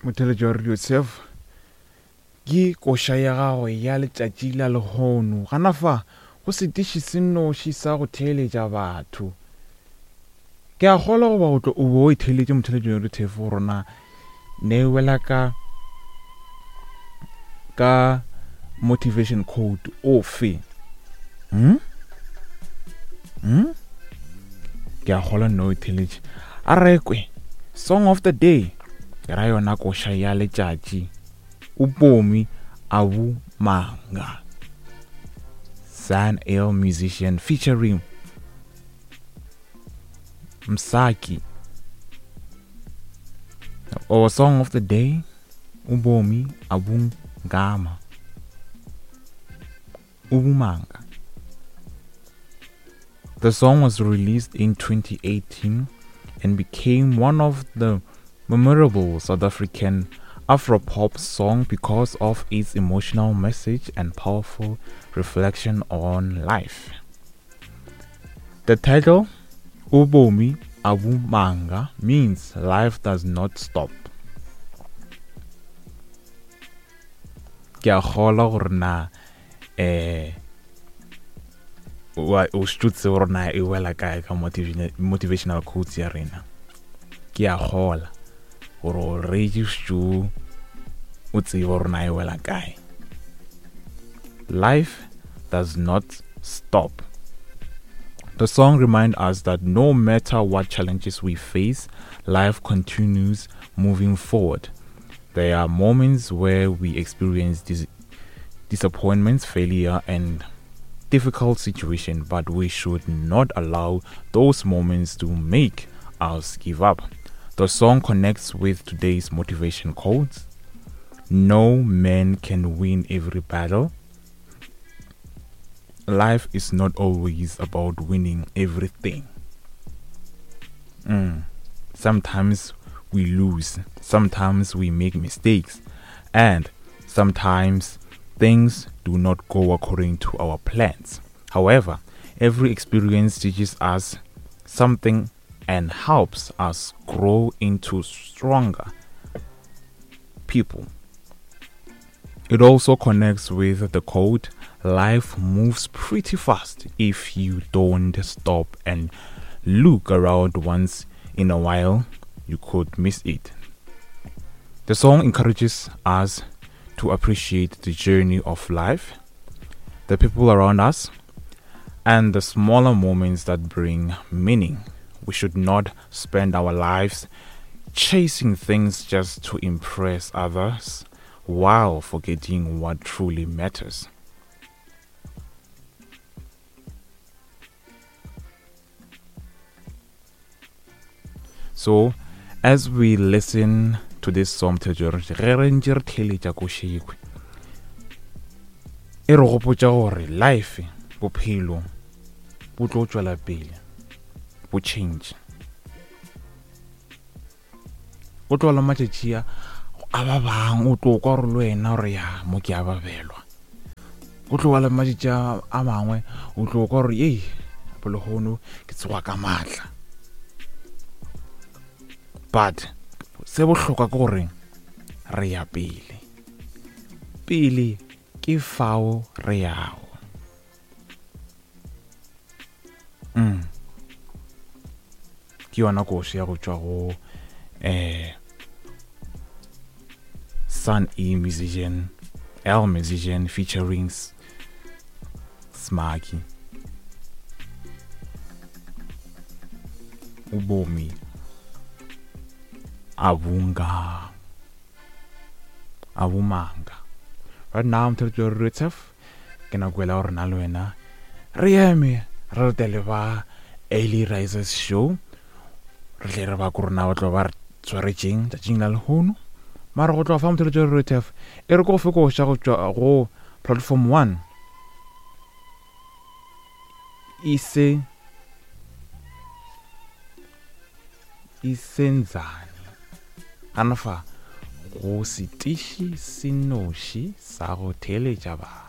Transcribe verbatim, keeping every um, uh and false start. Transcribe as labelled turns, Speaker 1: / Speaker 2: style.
Speaker 1: Motheletši wa Radio Turf ke koša ya gago ya letšatši la lehono. Gana fa go setiši se nnoši sa go theeletša batho. Ke a kgolwa goba o tlo o bo o itheeletše motheletši wa Radio Turf gore na ne e wela ka ka motivation code ofe. Hmm? Hmm? Ke a kgolwa nne o itheeletše. A rekwe song of the day ke ra yona koša ya letšatši Ubomi Abumanga San El musician featuring Msaki. Our song of the day, Ubomi Abungama. Ubumanga. The song was released in twenty eighteen and became one of the memorable South African Afropop song because of its emotional message and powerful reflection on life. The title Ubomi Abumanga means life does not stop. Ke a kgolwa gore na eh wa o stutse gore na e wela kae ka motivational, motivational quotes ya rena. Ke a kgolwa gore o reetse stu o tsebe gore na e wela kae. Life does not stop. The song reminds us that no matter what challenges we face, life continues moving forward. There are moments where we experience dis- disappointments, failure, and difficult situations, but we should not allow those moments to make us give up. The song connects with today's motivation quotes. No man can win every battle. Life is not always about winning everything. Mm. Sometimes we lose, sometimes we make mistakes, and sometimes things do not go according to our plans. However, every experience teaches us something and helps us grow into stronger people. It also connects with the quote, life moves pretty fast if you don't stop and look around once in a while, you could miss it. The song encourages us to appreciate the journey of life, the people around us, and the smaller moments that bring meaning. We should not spend our lives chasing things just to impress others while forgetting what truly matters. So, as we listen to this song, ge re ntše re theeletša košekwe, e re gopotša gore life, bophelo, bo tlo tšwela pele, bo change. Go tlo la matšatši a a ba bang o tlo kwa gore le wena gore ya mo ke a babelwa. Go tlo ba le matšatši a mangwe o tlo kwa gore ei bolehono ke tsoga ka matla. But se bohlokwa ke gore re ya pele. Pele ke fao re yago. Mm. Ke yona koši ya go tšwa go eh Sun E musician, L musician featuring Smaki. Ubomi Abunga Abumanga. Right now I'm telling you Rutef ke nako ela gore na le wena re eme re retele ba Early Risers Show. Re tle re ba ko rona ba tlo ba re tshwaretšeng tšatšing la lehono. Mara go tloga fa motheletši wa Rutef e re ko go fe koša go tšwa go platform one ise isenzane gana fa go setiši se noši sa go theeletša batho.